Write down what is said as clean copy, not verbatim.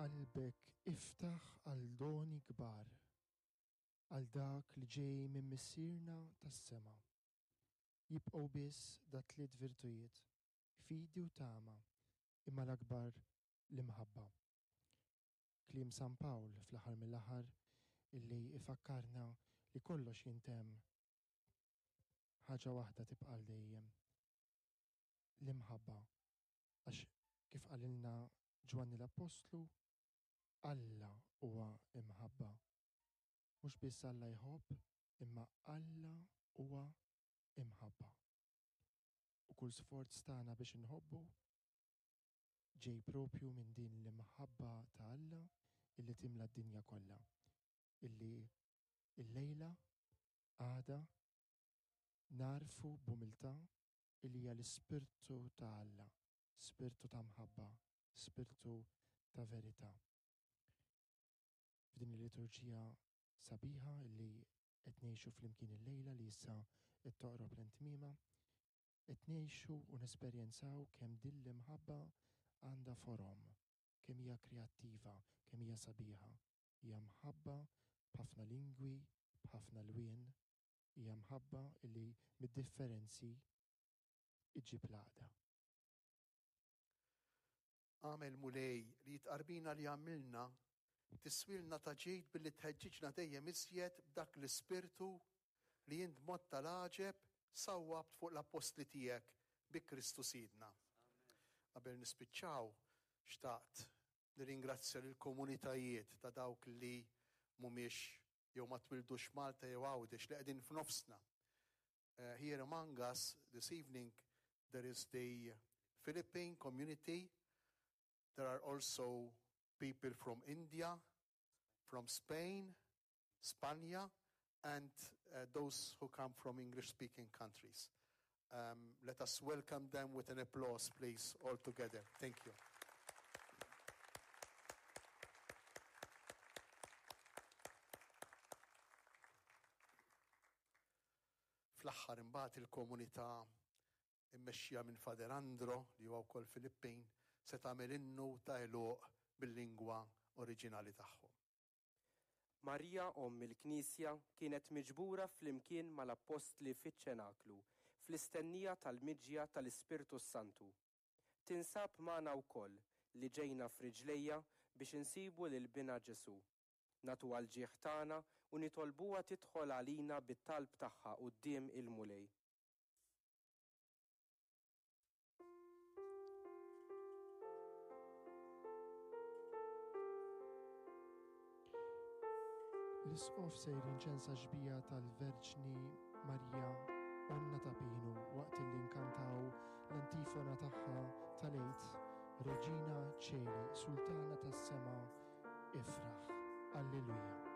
Qalbek iftaħ għal doni kbar, għal dak li ġej minn Missierna tas-sema. Jibqgħu biss dat-tliet virtujiet, fidi u tama, imma l-akbar l-imħabba. Kliem San Pawl fl-aħħar mill-aħħar illi ifakkarna li kollox jintemm, ħaġa waħda tibqa' għal dejjem, l-imħabba. Għax kif qalilna Ġwanni l-Appostlu, Alla huwa imħabba. Mhux biss Alla jħobb, imma Alla huwa imħabba. U kull sforz tagħna biex inħobbu ġej propju minn din l-imħabba ta' Alla illi timla d-dinja kollha. Illi illejla għada nagħrfu b'umiltà illi hija l-Ispirtu ta' Alla, Spirtu ta' mħabba, Spirtu ta' verità. F'din il-liturġija sabiħa illi qed ngħixu flimkien illejla li issa qed toqrob lejn tmiemha, qed ngħixu u nesperjenzaw kemm din l-imħabba għandha forom, kemm hija kreattiva, kemm hija sabiħa. Hija mħabba b'ħafna lingwi, b'ħafna lwien, hija mħabba li mid-differenzi iġġib l-għaqda. Agħmel, Mulej, li t-tqarbina li għamilna tiswilna ta' ġid billi tħeġġiġna dejjem iżjed b'dak l-Ispirtu li int b'mod tal-għaġeb sawwabt fuq l-appostli tiegħek bi Kristu Sidna. Qabel nispiċċaw, xtaqt nirringrazzja lill-komunitajiet ta' dawk li mhumiex jew ma twildux Malta jew Għawdex li qegħdin f'nofsna. Uh, here among us this evening there is the Philippine community. There are also people from India, from Spain, Spanja, and uh, those who come from English-speaking countries. Um, let us welcome them with an applause, please, all together. Thank you. Fl-aħħar imbagħad il-komunità immexxija minn Father Andro li huwa wkoll Filippin se tagħmel innu ta' għeluq bil-lingwa oriġinali tagħhom. Marija Omm il-Knisja kienet miġbura flimkien mal-Appostli fiċ-Ċenaklu fl-istennija tal-miġja tal-Ispirtu s-Santu. Tinsab magħna wkoll li ġejna f'riġlejha biex insibu lil Binha Ġesù. Nagħtuha l-ġieħ tagħna u nitolbuha tidħol għalina bit-talb tagħha quddiem il-Mulej. L-Isqof sejr jinċensa x-xbieha tal-Verġni Marija Onna ta' Pinu waqt li nkantaw l-antifona tagħha tal-Għid, Regina Coeli, Sultana tas-Sema, ifraħ. Alleluja.